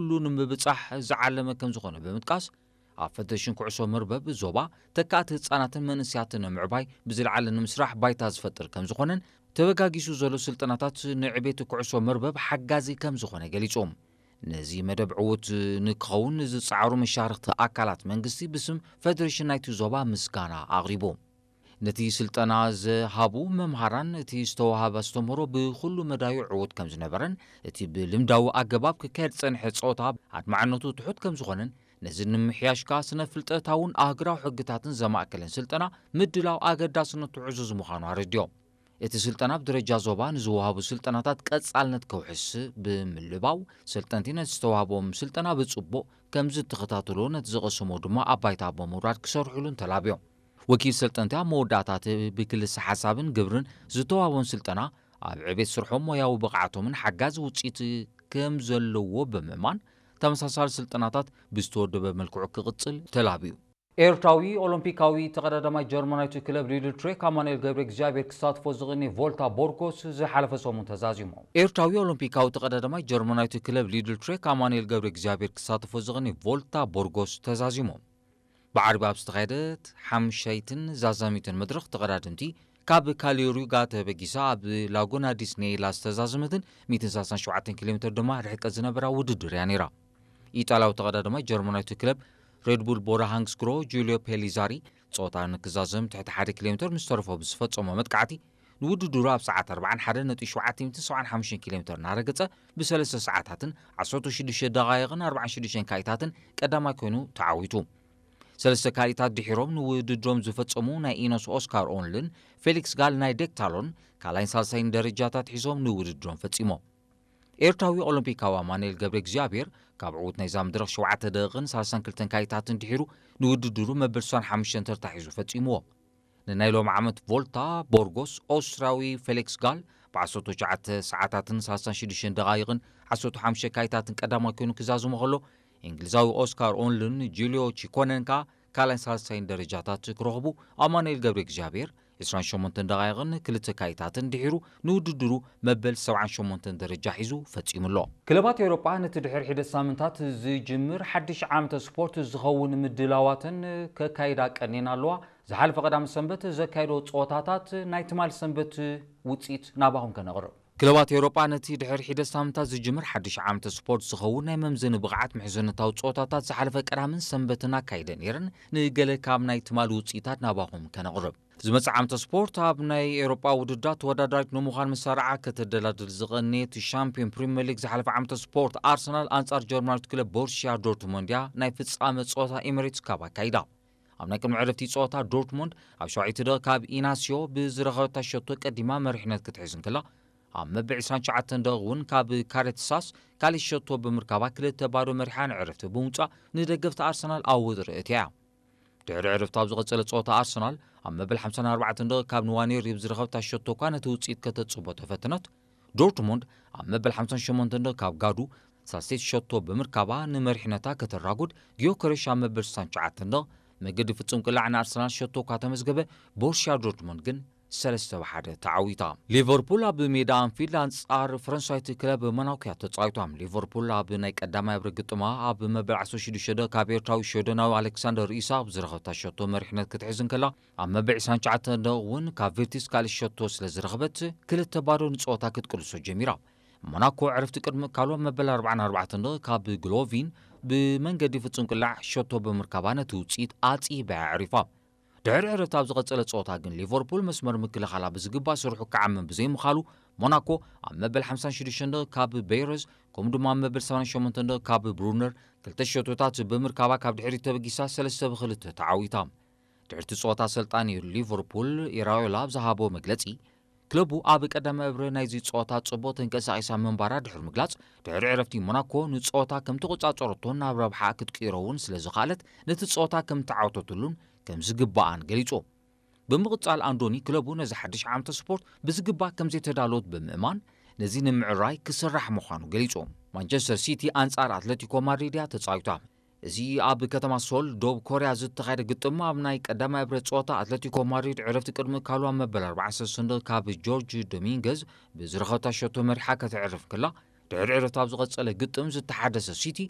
ኩሉ ንምብጻሕ ዝዓለመ ከም ዝኾነ ብምጥቃስ፣ ኣብ ፈደሬሽን ኩዕሶ መርበብ ዞባ ተካእቲ ህጻናትን መንእሰያትን ንምዕባይ ብዝለዓለ ንምስራሕ ባይታ ዝፈጥር ከም ዝኾነን፣ ተበጋጊሱ ዘሎ ስልጠናታት ንዕቤት ኩዕሶ መርበብ ሓጋዚ ከም ዝኾነ ገሊጹ። ነዚ መደብ ዕዉት ንክኸውን ዝጸዓሩ መሻርኽቲ ኣካላት መንግስቲ ብስም ፈደሬሽን ናይቲ ዞባ ምስጋና ኣቕሪቡ። ነቲ ስልጠና ዝሃቡ መምሃራን እቲ ዝተዋሃበ ኣስተምህሮ ብኹሉ መዳዩ ዕዉት ከም ዝነበረን፣ እቲ ብልምዳዊ ኣገባብ ክካየድ ዝጸንሐ ጸወታ ኣድማዕነቱ ትሑት ከም ዝኾነን፣ ነዚ ንምሕያሽ ከኣ ስነ ፍልጠታውን ኣህግራዊ ሕግታትን ዘማእከለን ስልጠና ምድላው ኣገዳስነቱ ዕዙዝ ምዃኑ ኣረዲኦም። እቲ ስልጠና ኣብ ደረጃ ዞባ ንዝወሃቡ ስልጠናታት ቀጻልነት ከውሕስ ብምልባው፣ ሰልጠንቲ ነቲ ዝተዋህቦም ስልጠና ብጽቡቕ ከም ዝተኸታተሉ፣ ነቲ ዝቐሰሞ ድማ ኣብ ባይታ ብምውራድ ክሰርሕሉን ተላብዮም። ወኪል ሰልጠንቲ ኣብ መወዳእታ እቲ ብክልሰ ሓሳብን ግብርን ዝተዋህቦም ስልጠና ኣብ ዕቤት ስርሖም ሞያዊ ብቕዓቶምን ሓጋዚ ውጽኢት ከም ዘለዎ ብምእማን፣ ተመሳሳሊ ስልጠናታት ብዝተወደበ መልክዑ ክቕጽል ተላብዩ። ኤርትራዊ ኦሎምፒካዊ ተቐዳዳማይ ጀርመናዊቱ ክለብ ሊድል ትሬክ ኣማኑኤል ገብረ እግዚኣብሔር ክሳትፎ ዝቕኒ ቮልታ ቦርጎስ ዝሓለፈ ሰሙን ተዛዚሙ። ኤርትራዊ ኦሎምፒካዊ ተቐዳዳማይ ጀርመናዊቱ ክለብ ሊድል ትሬክ ኣማኑኤል ገብረ እግዚኣብሔር ክሳትፎ ዝቕኒ ቮልታ ቦርጎስ ተዛዚሙ። ብዓርቢ ኣብ ዝተኻየደት ሓምሻይትን ዛዛሚትን መድረኽ ተቐዳደምቲ ካብ ካሊዮሪጋ ተበጊሳ ኣብ ላጎና ዲስኔላ ዝተዛዘመትን ሚእትን ሰላሳን ሸውዓተን ኪሎ ሜትር ድማ ርሕቀት ዝነበራ ውድድር እያ ነይራ። ኢጣልያዊ ተቐዳዳማይ ጀርመናዊቱ ክለብ ሬድቡል ቦራ ሃንግስክሮ ጁልዮ ፔሊዛሪ ጸወታ ንክዛዘም ትሕቲ ሓደ ኪሎ ሜትር ምስ ተረፎ ብዝፈጸሞ መጥቃዕቲ ንውድድሩ ኣብ ሰዓት ኣርባዓን ሓደን ነጥቢ ሸውዓተ ሚእትን ሰብዓን ሓሙሽተን ኪሎ ሜትር እናረገጸ ብሰለስተ ሰዓታትን ዓሰርተ ሽዱሽተ ደቓይቕን ኣርባዓን ሽዱሽተን ካኢታትን ቀዳማይ ኮይኑ ተዓዊቱ። ሰለስተ ካሊታት ድሒሮም ንውድድሮም ዝፈጸሙ ናይ ኢኖስ ኦስካር ኦንልን ፌሊክስ ጋል ናይ ዴክታሎን ካልኣይን ሳልሳይን ደረጃታት ሒዞም ንውድድሮም ፈጺሞም። ኤርትራዊ ኦሎምፒካዊ ኣማኑኤል ገብረ እግዚኣብሔር ካብ ዕዉት ናይዛ መድረኽ ሸውዓተ ደቂቕን ሰላሳን ክልተን ካሊታትን ድሒሩ ንውድድሩ መበል ስሳን ሓሙሽተን ተርታ ሒዙ ፈጺምዎ። ንናይ ሎም ዓመት ቮልታ ቦርጎስ ኦስትሪያዊ ፌሊክስ ጋል ብ ዓሰርተ ትሽዓተ ሰዓታትን ሰላሳን ሽዱሽተን ደቓይቕን ዓሰርተ ሓሙሽተ ካሊታትን ቀዳማይ ኮይኑ ክዛዝሞ ከሎ፣ እንግሊዛዊ ኦስካር ኦንልን ጁልዮ ቺኮነን ከኣ ካልኣይን ሳልሳይን ደረጃታት ክረኽቡ፣ ኣማኑኤል ገብረ እግዚኣብሔር ዕስራን ሸሞንተን ደቓይቕን ክልተ ካሊታትን ድሒሩ ንውድድሩ መበል ሰብዓን ሸሞንተን ደረጃ ሒዙ ፈጺሙ ኣሎ። ክለባት ኤውሮጳ ነቲ ድሕሪ ሒደት ሳምንታት ዝጅምር ሓድሽ ዓመተ ስፖርት ዝኸውን ምድላዋተን ከካይዳ ቀኒየን ኣለዋ። ዝሓለፈ ቀዳም ሰንበት ዘካየዶ ጸወታታት ናይ ትማል ሰንበት ውጽኢት ናባኹም ከነቕርብ። ክለባት ኤውሮጳ ነቲ ድሕሪ ሒደት ሳምንታት ዝጅምር ሓድሽ ዓመተ ስፖርት ዝኸውን ናይ መምዘኒ ብቕዓት ምሕዝነታዊ ጸወታታት ዝሓለፈ ቀዳምን ሰንበትን ኣካይደ ነይረን። ንገለ ካብ ናይ ትማል ውጽኢታት ናባኹም ከነቕርብ። ዝመጽእ ዓመተ ስፖርት ኣብ ናይ ኤውሮጳ ውድድራት ተወዳዳሪት ንምዃን መሳርዓ ከተደላድል ዝቐነየት ሻምፒዮን ፕሪምየር ሊግ ዝሓለፈ ዓመተ ስፖርት ኣርሰናል ኣንጻር ጀርመናዊት ክለብ ቦሩሲያ ዶርትሞንድ እያ ናይ ፍጻመ ጸወታ ኤሚሬትስ ካፕ ኣካይዳ። ኣብ ናይ ቅድሚ ዕረፍቲ ጸወታ ዶርትሞንድ ኣብ ሸውዓይቲ ደቂቕ ካብ ኢናስዮ ብዝረኸበታ ሸቶ ቀዲማ መሪሕነት ክትሕዝ እንከላ፣ ኣብ መበል ዕስራን ትሽዓተን ደቂቕ እውን ካብ ካሬትሳስ ካልእ ሸቶ ብምርካባ ክልተ ባዶ መሪሓ ንዕረፍቲ ብምውጻእ ንደገፍቲ ኣርሰናል ኣብ ወጥሪ እትያ። ድሕሪ ዕረፍቲ ኣብ ዝቐጸለ ጸወታ ኣርሰናል ኣብ መበል ሓምሳን ኣርባዕተን ደቂቕ ካብ ንዋኔሪ ብዝረኸበታ ሸቶ እኳ ነቲ ውጽኢት ከተጽቦ ተፈተነት። ዶርትሙንድ ኣብ መበል ሓምሳን ሸሞንተን ደቂቕ ካብ ጋዱ ሳልሰይቲ ሸቶ ብምርካባ ንመሪሕነታ ከተራጉድ፣ ጊዮከረሽ ኣብ መበል ስሳን ትሽዓተን ደቂቕ መገዲ ፍጹም ቅላዕ ንኣርሰናል ሸቶ እኳ ተመዝገበ፣ ቦሩሲያ ዶርትሙንድ ግን ሰለስተ ብ ሓደ ተዓዊታ። ሊቨርፑል ኣብ ሜዳ ኣንፊልድ ኣንጻር ፈረንሳዊት ክለብ ሞናኮ እያ ተጻዊታ። ሊቨርፑል ኣብ ናይ ቀዳማይ እብረ ግጥማ ኣብ መበል ዓሰርተ ሽዱሽተ ደቂቕ ካብ ኤርትራዊ ሽወደናዊ ኣሌክሳንደር ኢሳቕ ብዝረኸብታ ሸቶ መሪሕነት ክትሕዝ እንከላ፣ ኣብ መበል ዕስራን ትሽዓተን ደቂቕ እውን ካብ ቪርቲስ ካልእ ሸቶ ስለ ዝረኸበት፣ ክልተ ባዶ ንጸወታ ክትቅልሶ ጀሚራ። ሞናኮ ዕረፍቲ ቅድሚ ምእካሉ ኣብ መበል ኣርባዓን ኣርባዕተን ደቂቕ ካብ ግሎቪን ብመንገዲ ፍጹም ቅላዕ ሸቶ ብምርካባ ነቲ ውጽኢት ኣጽቢባ እያ ኣዕሪፋ። ድሕሪ ዕረፍቲ ኣብ ዝቐጸለ ጸወታ ግን ሊቨርፑል መስመር ምክልኻላ ብዝግባእ ስርሑ ክዓምም ብዘይምኻሉ፣ ሞናኮ ኣብ መበል ሓምሳን ሽዱሽተን ደቂቕ ካብ ቤረዝ፣ ከምኡ ድማ ኣብ መበል ሰማንያን ሸሞንተን ደቂቕ ካብ ብሩነር ክልተ ሸቶታት ብምርካባ ካብ ድሕሪት ተበጊሳ ሰለስተ ብ ክልተ ተዓዊታ። ድሕርቲ ጸወታ ኣሰልጣኒ ሊቨርፑል ኢራዮላ ኣብ ዝሃቦ መግለጺ፣ ክለቡ ኣብ ቀዳማይ እብረ ናይዚ ጸወታ ጽቡቕ ተንቀሳቒሳ ምንባራ ድሕሪ ምግላጽ፣ ድሕሪ ዕረፍቲ ሞናኮ ንጸወታ ከም ተቖጻጸረቶን ናብ ረብሓ ክትቅይሮ እውን ስለ ዝኸኣለት፣ ነቲ ጸወታ ከም ተዓወተትሉን ከም ዝግባኣን ገሊጹ። ብምቕጻል ኣንዶኒ ክለቡ ነዚ ሓድሽ ዓመተ ስፖርት ብዝግባእ ከም ዘይተዳለወት ብምእማን፣ ነዚ ንምዕራይ ክስራሕ ምዃኑ ገሊጹ። ማንቸስተር ሲቲ ኣንጻር ኣትለቲኮ ማድሪድ እያ ተጻዊታ። እዚ ኣብ ከተማ ሶል፣ ደቡብ ኮርያ ዝተኻየደ ግጥም ኣብ ናይ ቀዳማይ እብረ ጸወታ ኣትለቲኮ ማድሪድ ዕረፍቲ ቅድሚ ምእካሉ ኣብ መበል ኣርባዓን ሰለስተን ደቂቕ ካብ ጆርጅ ዶሚንገዝ ብዝረኸብታ ሸቶ መሪሓ ከተዕርፍ ከላ፣ ድሕሪ ዕረፍቲ ኣብ ዝቐጸለ ግጥም ዝተሓደሰ ሲቲ